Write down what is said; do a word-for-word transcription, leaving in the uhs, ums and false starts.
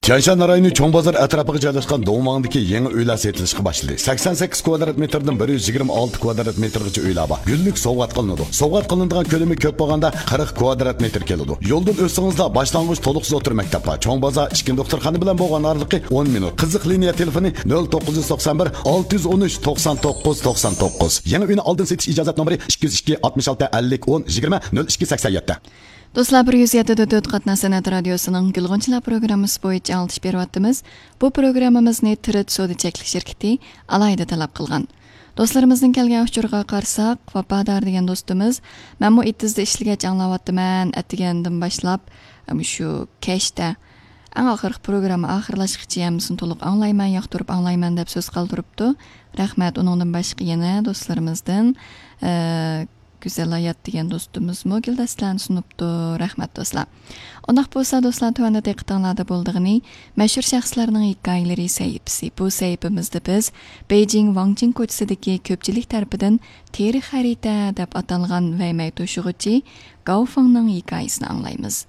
تيەنشان رايونى چوڭ بازار ئەتراپىغا جايلاشقان دوڭۋاڭدىكى يېڭى ئۆيلەر سېتىلىشقا باشلىدى. سەكسەن سەككىز كۋادرات مېتىردىن بىر يۈز يىگىرمە ئالتە كۋادرات مېتىرغىچە ئۆيلەر بار. گۈللۈك سوۋغات قىلىنىدۇ. سوۋغات قىلىنىدىغان كۆلىمى كۆپ بولغاندا قىرىق كۋادرات مېتىر كېلىدۇ. يولدىن ئۆتسىڭىزلا باشلانغۇچ تولۇقسىز ئوتتۇرا مەكتەپ بار. چوڭ بازار ئىچكى دوختۇرخانا بىلەن بولغان ئارىلىقى ئون مىنۇت. قىزىق لىنىيە تېلېفونى نۆل توققۇز يۈز توقسان بىر، ئالتە يۈز ئون ئۈچ، توقسان توققۇز، توقسان توققۇز. يېڭى ئۆينى ئالدىن سېتىش ئىجازەت نومۇرى ئىككى يۈز ئىككى، ئاتمىش ئالتە، ئەللىك، ئون، يىگىرمە، نۆل ئىككى، سەكسەن يەتتە. دوستلار، بىر يۈز يەتتە دۆت قاتناش سەنئەت رادىيوسىنىڭ گۈلغۇنچىلار پروگراممىسى بويىچە ئاڭلىتىش بېرىۋاتىمىز. بۇ پروگراممىمىزنى تىرىت سودا چەكلىك شىركىتى ئالاھىدە تەلەپ قىلغان. دوستلىرىمىزنىڭ كەلگەن ئۇچۇرىغا قارىساق، ۋاپادار دېگەن دوستىمىز، مەنمۇ ئېتىزدا ئىشلىگەچ ئاڭلاۋاتىمەن، ئەتىگەندىن باشلاپ، مۇشۇ كەچتە ئەڭ ئاخىرقى پروگرامما ئاخىرلاشقىچە ھەممىسىنى تولۇق ئاڭلايمەن، ياقتۇرۇپ ئاڭلايمەن دەپ سۆز قالدۇرۇپتۇ. رەھمەت. ئۇنىڭدىن باشقا يەنە دوستلىرىمىزدىن، ئە، گۈزەل ھايات دېگەن دوستىمىزمۇ گۈلدەستىلەرنى سۇنۇپتۇ. رەھمەت دوستلار. ئۇنداق بولسا دوستلار، تۆۋەندە دىققىتىڭلاردا بولىدىغىنى مەشھۇر شەخسلەرنىڭ ھېكايىلىرى سەھىپىسى. بۇ سەھىپىمىزدە بىز بېيجىڭ ۋاڭچىڭ كوچىسىدىكى كۆپچىلىك تەرىپىدىن تېرە خەرىتە دەپ ئاتالغان ۋەيمەي توشۇغۇچى گاۋ فېڭنىڭ ھېكايىسىنى ئاڭلايمىز.